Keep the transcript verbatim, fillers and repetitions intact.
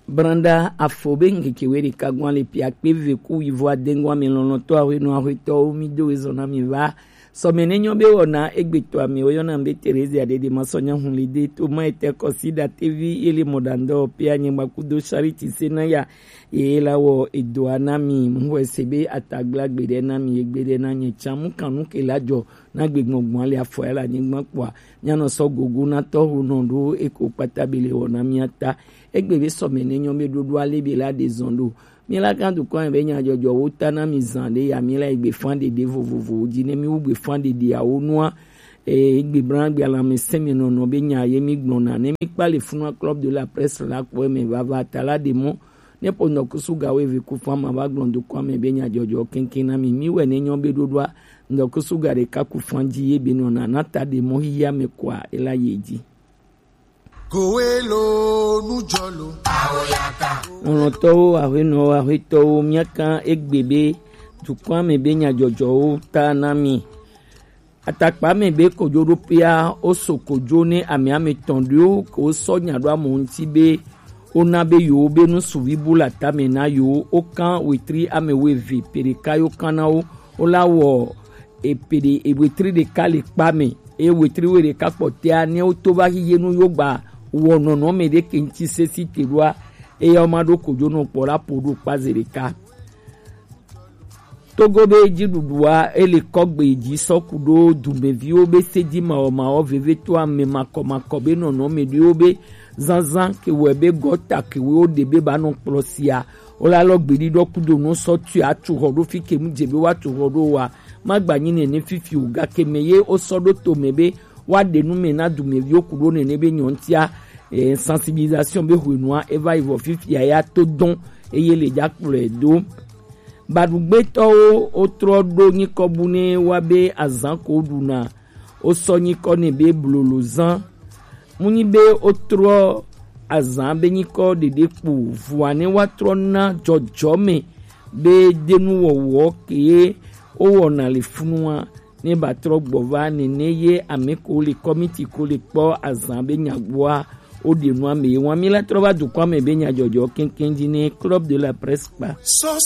Branda afo be ŋkeke we ɖeka gɔn le pia kpe ve ku wivo adengɔn ame lɔlɔtɔ ahwenɔ ahwetɔwo mi do ezɔn na mi va. Sɔmɛ ne nyɔ be wɔna egbetɔ ame wo yɔna be Terezia ɖeɖe ma sɔ nya hun le de to ma etɛ kɔsi da tevi ele mɔdandɔ pia nyɛgba kudo Charity se na ya ye la wɔ edoa na mi mu wɛ se be atagbla gbe ɖe na mi egbe ɖe na nyɛ tsa mu kanu ke la jɔ na gbegbɔgbɔn ale afɔ ya le anyigba kpɔa. Míanɔ sɔ gogo na tɔho nɔ ɖo eko kpata be le wɔ na mía ta. Egbe be sɔmɛ ne nyɔ be ɖoɖo ale be la ɖe zɔn ɖo. Míela gã dukɔ be nyadzɔdzɔwo ta na mi zan ɖe ya míela egbe fan ɖeɖe vovovowo dzi ne mi wu gbe fan ɖeɖeawo nua. Egbe bla gbe alame sɛmi nɔnɔ be nya ye mi gblɔna ne mi kpa le funua Club de la Presse la kpɔ me vava ta la ɖe mɔ. Ne ƒo ŋdɔkusu ga wo eve ku fama va gblɔ dukɔa me be nyadzɔdzɔ keŋkeŋ na mi. Mi wɛ ne nyɔ be ɖoɖoa ŋdɔkusu ga ɖeka ku fan dzi ye be nɔna na ta ɖe mɔ hiya me kɔa ela ye dzi. Kowelo nujɔlo. Lɔlɔtɔwo, aƒenɔwo, aƒetɔwo, míaka egbe be dukɔa me be nyadzɔdzɔwo ta na mi. Atakpa me be kojoɖoƒea woso kojo ne ame ame tɔn ɖewo ke wosɔ nya ɖo ame ŋuti be wona be yewo be nu suvi bu le atame na yewo, wokan wetri ame wuieve pe ɖeka yewo kan na wo. Wola wɔ epe ɖe ewetri ɖeka le kpa me eye wetri wuiɖeka kpɔtɔa ne woto va xixe nu yewo gba wɔ nɔnɔme ɖe ke ŋuti sesi te ɖoa, eya woma ɖo kojo nɔ kpɔ la ƒo ɖo kpa ze ɖeka. Togo be dziɖuɖua ele kɔgbe dzi sɔ ku ɖo dumeviwo be sedi mawɔmawɔ vevitɔ ame makɔmakɔ be nɔnɔme ɖewo be zanzan ke wɔe be gɔta ke wo ɖe be ba nɔ kplɔ sia. Wola lɔ gbeɖi ɖɔ kudo nɔ sɔ tui atu xɔ ɖo fi ke mu dze be woatu xɔ ɖo wa. Magba nyi nene fifi o gake me ye wosɔ ɖo to me be woaɖe nu me na dumeviwo ku ɖo nene be nyɔntia. Eh, sensibilisation be hwenua eva yi vɔ fifia ya to dɔn eye le dza kplɔe do. Baɖugbetɔwo wotrɔ ɖo nyikɔ bu ne wa be azan ko ɖuna wosɔ nyikɔ ne be blolo zan. Munyi be wotrɔ azan be nyikɔ ɖeɖe kpo vua ne woatrɔ na dzɔdzɔme be denuwɔwɔ ke wowɔna le funua ne ba trɔ gbɔ va nene ye ame ko le kɔmiti ko le kpɔ azan be nyagboa woɖe nua me ye wan mi la trɔ va dukɔa me be nyadzɔdzɔ keŋkeŋ dzi ne Club de la Presse kpa. Sɔ